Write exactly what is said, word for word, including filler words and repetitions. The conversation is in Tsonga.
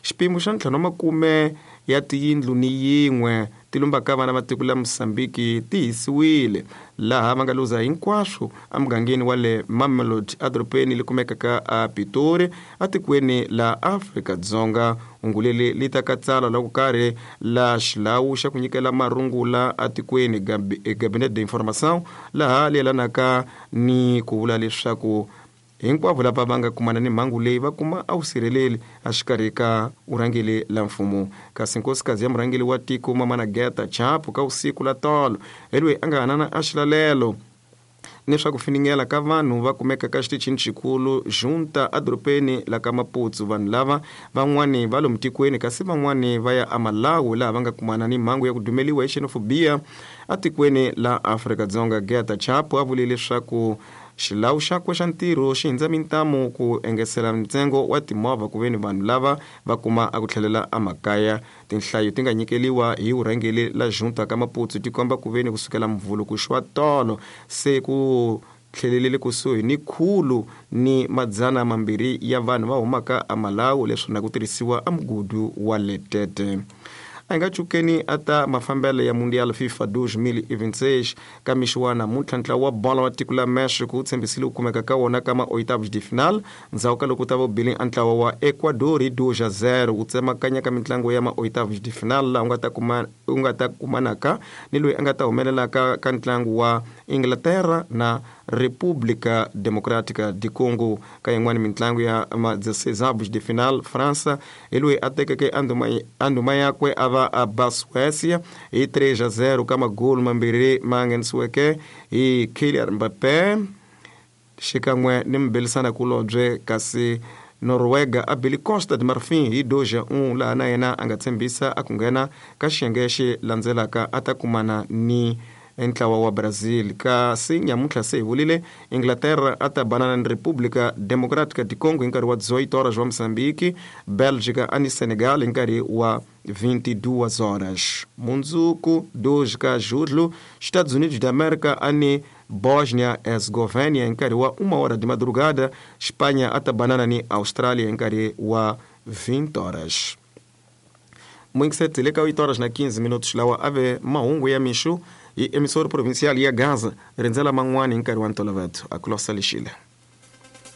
Xipimo xa ntlhanu wa makume ya tiyindlu ni yin'we ti lumbaka vana va tiko la Mozambique ti hisiwile laha va nga luza hinkwaswo emugangeni wa le Mamelodi edorobeni li kumekaka a Pitori etikweni la Afrika-Dzonga. Hungu leri li ta ka tsalwa la ku karhi la xilawu xa ku nyikela marungula etikweni Gabinet d'Information laha li yelanaka ni ku vula leswaku hinkwavo lava va nga kumana ni mhangu leyi va kuma a vusirheleli exikarhi ka vurhangeri la mfumo. Kasi nkosikazi ya murhangeri wa tiko Mamana Geta Chapo ka vusiku la tolo hi loyi a nga hanana a xilalelo ni swa ku finingela ka vanhu va kumeka ka xitichini xikulu Junta edorobeni la ka Maputo. Vanhu lava van'wani va lomu tikweni kasi van'wani va ya eMalawi laha va nga kumana ni mhangu ya ku dumeliwa hi xenophobia etikweni la Afrika-Dzonga. Geta Chapo a vule leswaku xilawu xakwe xa ntirho xi hindza mintamu ku engesela ntsengo wa timovha ku veni vanhu lava va kuma a ku tlhelela emakaya. Tinhlayo ti nga nyikeliwa hi vurhangeri la Junta ka Maputo ti komba ku veni kusukela Mvhulu ku xwa tolo se ku tlhelelele kusuhi ni khulu ni madzana mambirhi ya vanhu va humaka eMalawi leswi na ku tirhisiwa emugudu wa Letete. A hi nga cukeni ata mafambelo ya Mundial FIFA dois mil e vinte e seis ka mixo wa namuntlha. Ntlawa wa bolo wa tiko la Mexico wu tshembisile ku kumeka ka wona ka ma-oitavos de final ndzhaku ka loko ta va bile a ntlawa wa Ecuador hi dois a zero wu tsemakanya ka mitlangu ya ma-oitavos de final laha u nga ta kuma u nga ta kumanaka ni loyi a nga ta humelelaka ka ntlangu wa Inglaterra na República Democrática de Congo. Ka yin'wani mitlangu ya ma dezesseis avos de final, França hi loyi a tekeke a ndhuma yakwe a va a ba Suécia hi três a zero ka magolu mambirhi ma nghenisiweke hi Kylian Mbappé xikan'we ni mubelisana kulobye. Kasi Noruega a bile Costa de Marfim hi dois a um laha na yena a nga tshembisa a ku nghena ka xiyenge xi landzelaka a ta kumana ni ntlawa wa Brazil. Kasi nyamuntlha se hi vulile Inglaterra a ta banana ni República Democrática de Congo hi nkarhi wa dezoito horas wa Mozambique, Bélgica a ni Senegal hi nkarhi wa vinte e duas horas. Mundzuku dois ka julho, Estados Unidos da América a ni Bósnia Herzegovina hi nkarhi wa uma hora de madrugada, Espanha a ta banana ni Austrália hi nkarhi wa vinte horas. Muingiseti le ka oito horas na quinze minutos lawa a ve mahungu ya mixo hi emissora provincial ya Gaza rindzela man'wani hi nkarhi wa ntolovelo. A ku losa lexile.